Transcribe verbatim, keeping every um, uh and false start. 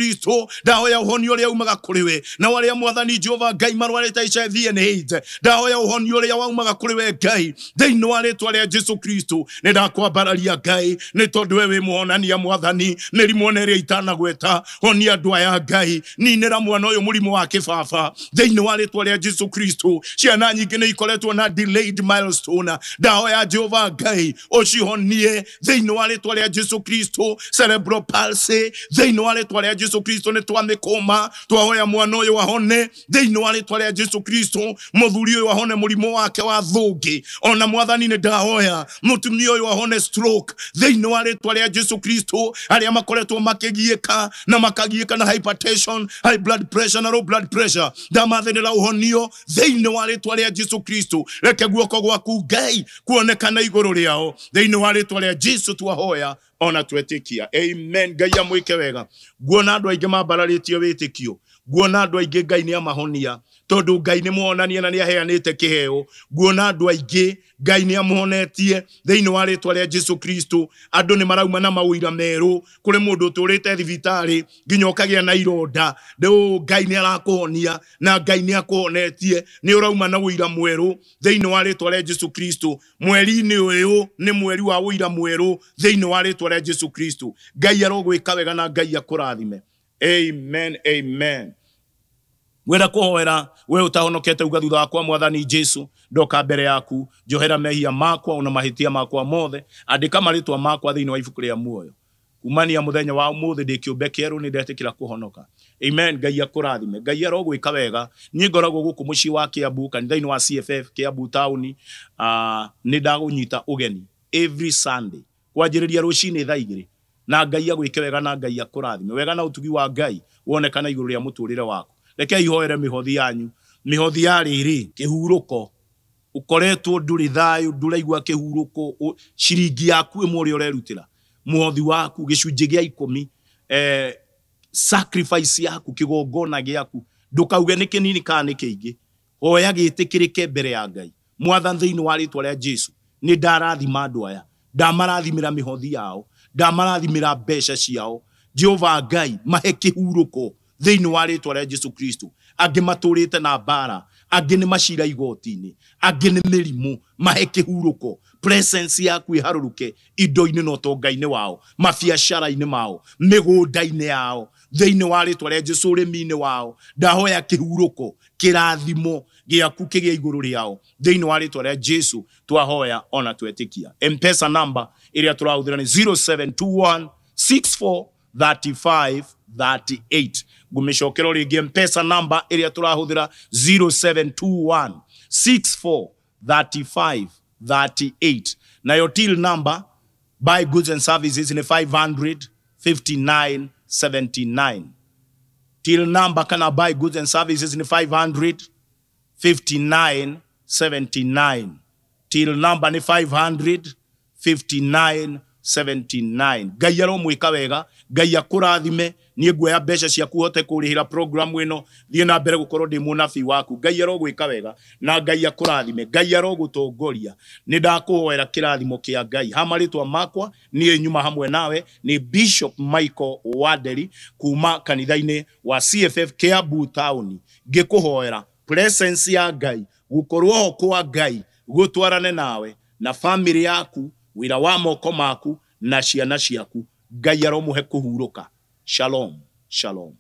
Kristo. Ndahoya ũhonio ũrĩa umaga kũrĩ we, na arĩa Mwathani Jehova Ngai marwarĩte H I V and AIDS, ndahoya ũhonio ũrĩa waumaga kũrĩ we Ngai thĩinĩ wa rĩtwa rĩa Jesu Kristo. Nĩ ndakwambararia Ngai nĩ tondũ we wĩ mũhonania Mwathani, mĩrimũ ona ĩrĩa itanagweta, honia andũ aya Ngai, ninĩra mwana ũyũ mũrimũ wa kĩbaba thĩinĩ wa rĩtwa rĩa Jesu Kristo. Ciana nyingĩ nĩ ikoretwo na delayed milestone, ndahoya Jehova Ngai ũcihonie thĩinĩ wa rĩtwa rĩa Jesu Kristo. Cerebral palsy thĩinĩ wa rĩtwa rĩa Jesu Kristo nĩ twamĩkũma, twahoya mwana ũyũ ahone thĩinĩ wa rĩtwa rĩa Jesu Kristo. Mũthuri ũyũ ahone mũrimũ wake wa thũngĩ, ona Mwathani nĩ ndahoya mũtumia ũyũ ahone stroke thĩinĩ wa rĩtwa rĩa Jesu Kristo. Arĩa makoretwo makĩgiĩka na makagiĩka na hypertension, high blood pressure na low blood pressure, ndamathanĩra ũhonio thĩinĩ wa rĩtwa rĩa Jesu Kristo. Reke guoko gwaku Ngai kuonekana igũrũ rĩao thĩinĩ wa rĩtwa rĩa Jesu twahoya ona twetĩkia, amen. Ngai amwĩke wega. Nguona andũ aingĩ mambararĩtie wĩtĩkio, nguona andũ aingĩ Ngai nĩ amahonia tondũ Ngai nĩ muonania na nĩ aheanĩte kĩheo. Nguona andũ aingĩ Ngai nĩ amuhonetie thĩinĩ wa rĩtwa rĩa Jesu Kristo. Andũ nĩ marauma na mawĩra merũ, kũrĩ mũndũ ũtũrĩte thibitarĩ nginya ũkagĩa na ironda, rĩu Ngai nĩ arakũhonia na Ngai nĩ akũhonetie, nĩ ũrauma na ũira mwerũ thĩinĩ wa rĩtwa rĩa Jesu Kristo. Mweri-inĩ ũyũ nĩ mweri wa ũira mwerũ thĩinĩ wa rĩtwa rĩa Jesu Kristo. Ngai arogwĩka wega na Ngai akũrathime, amen, amen. Ngwenda kũhoera we ũtahonokete uga thutha wakwa, Mwathani Jesu, ndoka mbere yaku, njohera mehia makwa ona mahĩtia makwa mothe, andĩka marĩtwa makwa thĩinĩ wa ibuku rĩa muoyo. Kumania mũthenya wa ũmũthĩ ndĩ kĩũmbe kĩerũ, nĩ ndetĩkĩra kũhonoka, amen. Ngai akũrathime, Ngai arogwĩka wega. Niĩ ngoragwo gũkũ mũciĩ wa Kiambu, kanitha-inĩ wa C F F Kiambu taũni. Uh, nĩ ndagũnyita ũgeni every Sunday kwanjĩrĩria rũcinĩ thaa igĩrĩ, na Ngai agwĩke wega na Ngai akũrathime wega, na ũtugi wa Ngai wonekana igũrũ rĩa mũtũrĩre waku. Reke ihoere mĩhothi yanyu, mĩhothi ya rĩrĩ kĩhurũko, ũkoretwo ndũrĩ thayũ, ndũraigua kĩhurũko, ciringi yaku ĩmwe ũrĩa ũrerutĩra, mũhothi waku gĩcunjĩ gĩa ikũmi, eh, sacrifice yaku, kĩgongona gĩaku, ndũkauge nĩ kĩnini kana nĩ kĩingĩ, hoya gĩtĩkĩrĩke mbere ya Ngai. Mwathani thĩinĩ wa rĩtwa rĩa Jesu, nĩ ndarathima andũ aya, ndamarathimĩra mĩhothi yao, ndamarathimĩra mbeca ciao. Jehova Ngai mahe kĩhurũko thĩinĩ wa rĩtwa rĩa Jesu Kristo. Angĩ matũrĩte na mbara, angĩ nĩ macira igoti-inĩ, angĩ nĩ mĩrimũ, mahe kĩhurũko. Presence yaku ĩharũrũke indo-inĩ na ũtonga-inĩ wao, mabiacara-inĩ mao, mĩgũnda-inĩ yao, thĩinĩ wa rĩtwa rĩa Jesu, ũrĩmi-inĩ wao. Ndahoya kĩhurũko, kĩrathimo gĩaku kĩgĩe igũrũ rĩao thĩinĩ wa rĩtwa rĩa Jesu twahoya ona twetĩkia. M-Pesa number ĩrĩa tũrahũthĩra nĩ zero seven two one six four thirty five thirty eight. Ngũmĩcokera rĩngĩ, M-Pesa number ĩrĩa tũrahũthĩra zero seven two one six four thirty five thirty eight. Nayo till number buy goods and services ni five hundred fifty nine seventy nine. Till number kana buy goods and services ni five hundred fifty nine seventy nine. Till number ni five hundred fifty nine seventy nine. Ngai aromwĩka wega, Ngai akũrathime. Niĩ nguoya mbeca ciaku hote kũrĩhĩra program ĩno, thiĩ na mbere gũkorwo ndĩ mũnabii waku. Ngai arogwĩka wega na Ngai akũrathime, Ngai arogũtongoria. Nĩ ndakũhoera kĩrathimo kĩa Ngai. Ha marĩtwa makwa niĩ nyuma hamwe nawe nĩ Bishop Michael Wanderi kuma kanitha-inĩ wa C F F Kiambu Town, ngĩkũhoera presence ya Ngai, gũkorwo ho kwa Ngai gũtwarane nawe na family yaku, wĩra wa moko maku na ciana ciaku. Ngai aromũhe kũhurũka. Shalom, shalom.